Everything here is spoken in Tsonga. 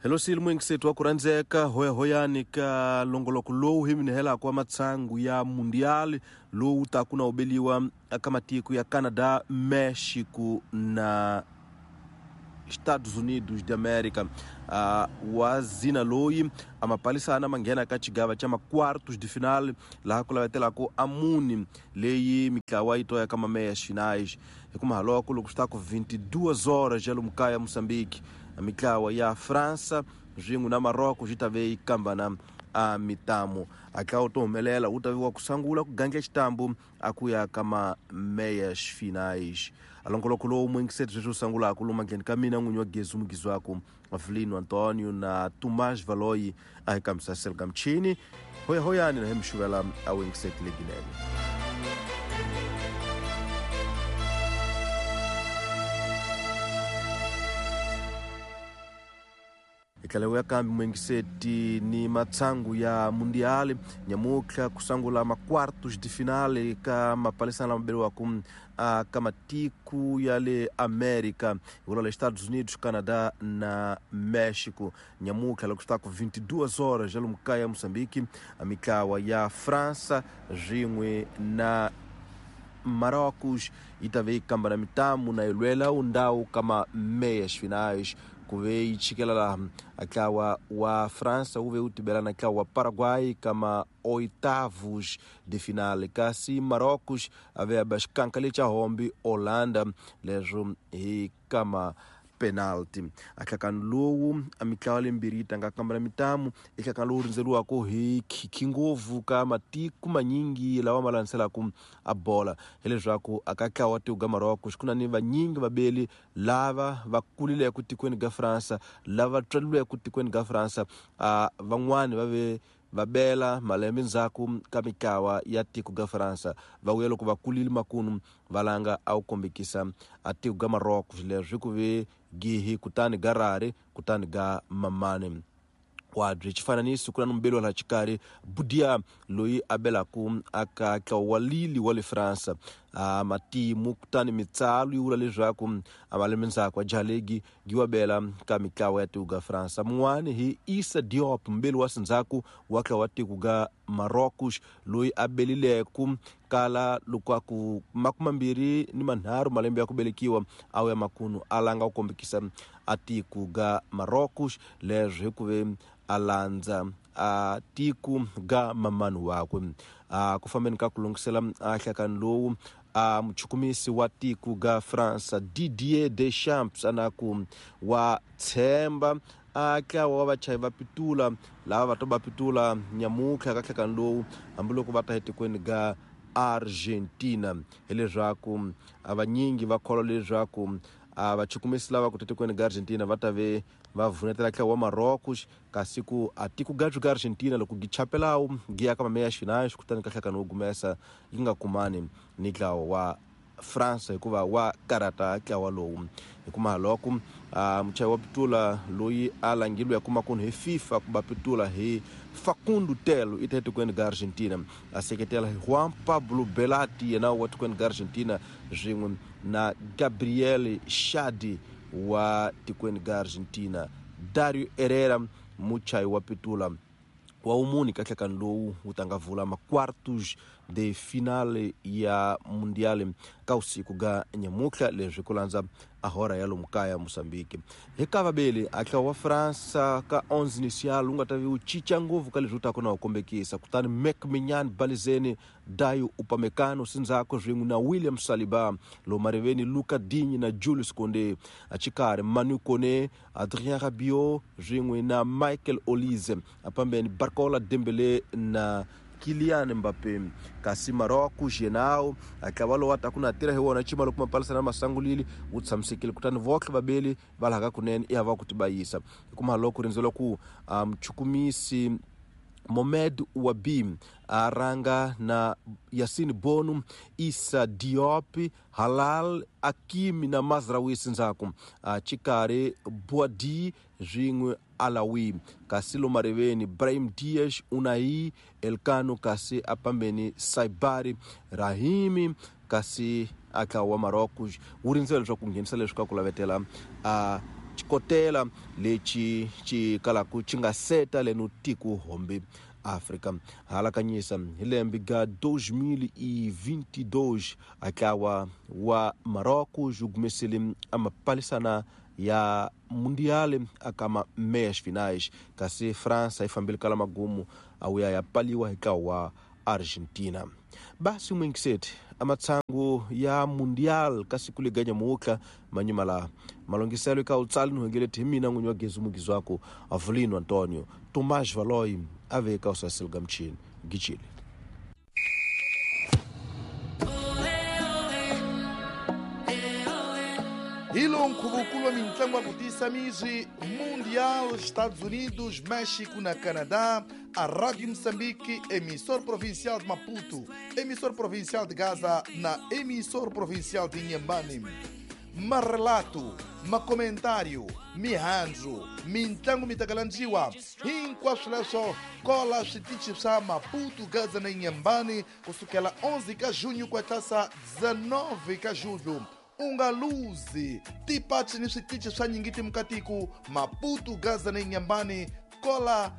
Hello sili muyingiseti wa ku rhandzeka hoyahoyani ka longoloko lowu hi minihelaka wa matshangu ya mundial lowu taku na ubeliwa aka matiko ya Canada, México na Estados Unidos de América. Wa zina loyi amapalisana manghena ka xigava xa ma-quartos de final laha ku lavetelaka amuni leyi mitlawa yi toya ka mameyas finais. Hi kuma haloko loko swi ta ku 22 horas ya lomu kaya Moçambique, mitlawa ya França swin'we na Marocco swi ta ve yi kambana a mitamu. A tlawa to humelela wu ta vi wa ku sungula ku gandla xitambu a ku ya ka ma-meyas finais. A longoloko lowu muyingiseri sweswi wu sungulaka lomu mandleni ka mina n'winyi wa gezi mugizwaku Avelino Antonio na Tomás Valoyi a hi kambisa selka michini hoyahoyani na hi mixuvela a wuyingiseti leginene. Hi tlhela ya kambe muyingiseti ni matshangu ya mundial nyamutlha ku sungula ma-quartos de finale ka mapalisana lama beriwaka ka matiko ya le America hi vula le Estados Unidos, Canada na México. Nyamutlha loko swi ta ku 22 horas ya lomu kaya Moçambique, mitlawa ya França swin'we na Marrocos yi ta ve yi kambana mitamu na yi lwela undhawu ka ma-meias finais. Ku ve yi chikela laha ntlawa wa França wu ve wu tibela na ntlawa wa Paraguay ka ma-oitavos de finale, kasi Marrocos a ve a ba xikanka lexa hombi Holanda leswo hi ka ma-penalty. A nhlakano lowu a mitlawa lembirhi yi tlanga kambana mitamu i nhlakano lowu rindzeriwaka hi khikhi ngopfu ka matiko manyingi lawa ma landzelaka a bola, hileswaku a ka ntlawa wa tiko ga Marrocos ku na ni vanyingi vabeli lava va kulileke tikweni ga Fransa, lava tswalilweke tikweni ga Fransa, van'wani va ve va bela malembe ndzhaku ka mitlawa ya tiko ga Fransa, va vuya loko va kulile makunu va langa a wu kombekisa a tiko ga Marrocos leswi ku ve gihi kutani ga rari kutani ga mamani. Wabye xifananiso ku na mubeli wa laha xikarhi Budia loyi a belaku aka ntlawa wa Lille wa le Fransa. Matimu kutani mitsalo yi vula leswaku a malembe ndzhaku a jaha legi gi wa bela ka mitlawa ya tiko ga Fransa. Mun'wani hi Issa Diop mubeli wa sindzhaku wa ntlawa wa tiko ga Marrocos loyi a belileku kala loko a ku 23 malembe ya ku velekiwa a ya makunu a langa ku kombekisa a tiko ga Marrocos leswi hi ku ve a landza a tiko ga mamani wakwe. Ku fambeni ka ku lunghisela a nhlakano lowu a muchukumisi wa tiko ga France Didier Deschamps ana ku wa tshemba a ntlawa wa vachayi va pitula lava va to va pitula nyamutlha ka nhlakano lowu hambiloko va ta etikweni ga Argentina, hileswaku a vanyingi va kholwa leswaku a vachukumisi lava ku tikweni ga Argentina va ta ve va vunetela ntlawa wa Marrocos, kasi ku a tiko ga ga Argentina loko gi chapelawu gi ya ka mameya finais kutani ka nhlakano wo gumesa yi nga kumani ni ntlawa wa France hikuva wa karata ntlawa lowu. Hikuma loko muchayi wa pitula loyi a langilwe ya kuma kunu hi FIFA ku ba pitula hi Facundo Telo i ta etikweni ga Argentina, a seketela hi Juan Pablo Belati yena wa tikweni ga Argentina swin'we na Gabriel Shadi wa tikweni ga Argentina, Dario Herrera muchayi wa pitula wa umuni ka nhlakano lowu wu ta nga vula ma-quartos de finale ya mundial ka usiku ga nyamutlha leswi ku landza a hora ya lomu kaya Moçambique. Hi ka vabeli a ntlawa wa Fransa ka 11 initial wu nga ta vi wu cinca ngopfu ka leswi wu taka na wu kombekisa, kutani Mek Minyan Balizeni Dayo Upamecano sindzhaku swin'we na William Saliba lomu mariveni Luca Digne na Julius Koundé, a xikarhi Manu Kone, Adrien Rabiot swin'we na Michael Olise, apambeni Barcola Dembele na Kylian Mbappe. Kasi Marrocos yenao a ntlawa lowu a ta ku na tirha hi wona cima loko mapalisana masangulile wu tshamisekile, kutani votlhe vabeli va laha ka kunene i hava ku tibayisa. Hikuma loko rindzela ku muchukumisi Mohamed Ouahbi a ranga na Yassine Bono, Issa Diop, Halal Hakimi na Mazraoui sindzhaku, xikarhi Boadi swin'we Alawi, kasi lomariveni Brahim Diaz, Unai Elkano, kasi apambeni Saibari Rahimi, kasi a ntlawa wa Marrocos wu rindzela leswaku ku nghenisa leswi ka ku lavetela a Xikotela lexi xi kalaku xi nga seta leno tiko hombe Afrika. Halakanyisa hi lembe ga 2022 a ntlawa wa Marocos wu humesile a mapalisana ya Mundial aka ma meias finais, kasi França yi fambile kala magumu a wuya ya paliwa hi ntlawa wa Argentina. Basi mwingiseti amatsangu ya Mundial kasi kuliga nyamuhla manyuma la malongiselo eka utsali nuhengeleti hi mina n'winyi wa gezi mugizi wako Avelino Antonio Tomás Valoy a ve eka usaseliga mchini gichile. Hi lowu nkhuvo wa mintlangu ya ku tiyisa mizwi Mundial Estados Unidos, México na Canadá, a Rádio Moçambique, emissor provincial de Maputo, emissor provincial de Gaza na emissor provincial de Inhambane. Marelato, makomentário, mihandzu, mintlangu mitakalandziwa, hinkwaswo leswo kola switichi swa Maputo, Gaza na Inhambane kusukela 11 ka junho ku tlasa 19 ka julho. U nga luzi tipachi ni switichi swa nyingi timukatiku Maputo, Gaza na Inhambane kola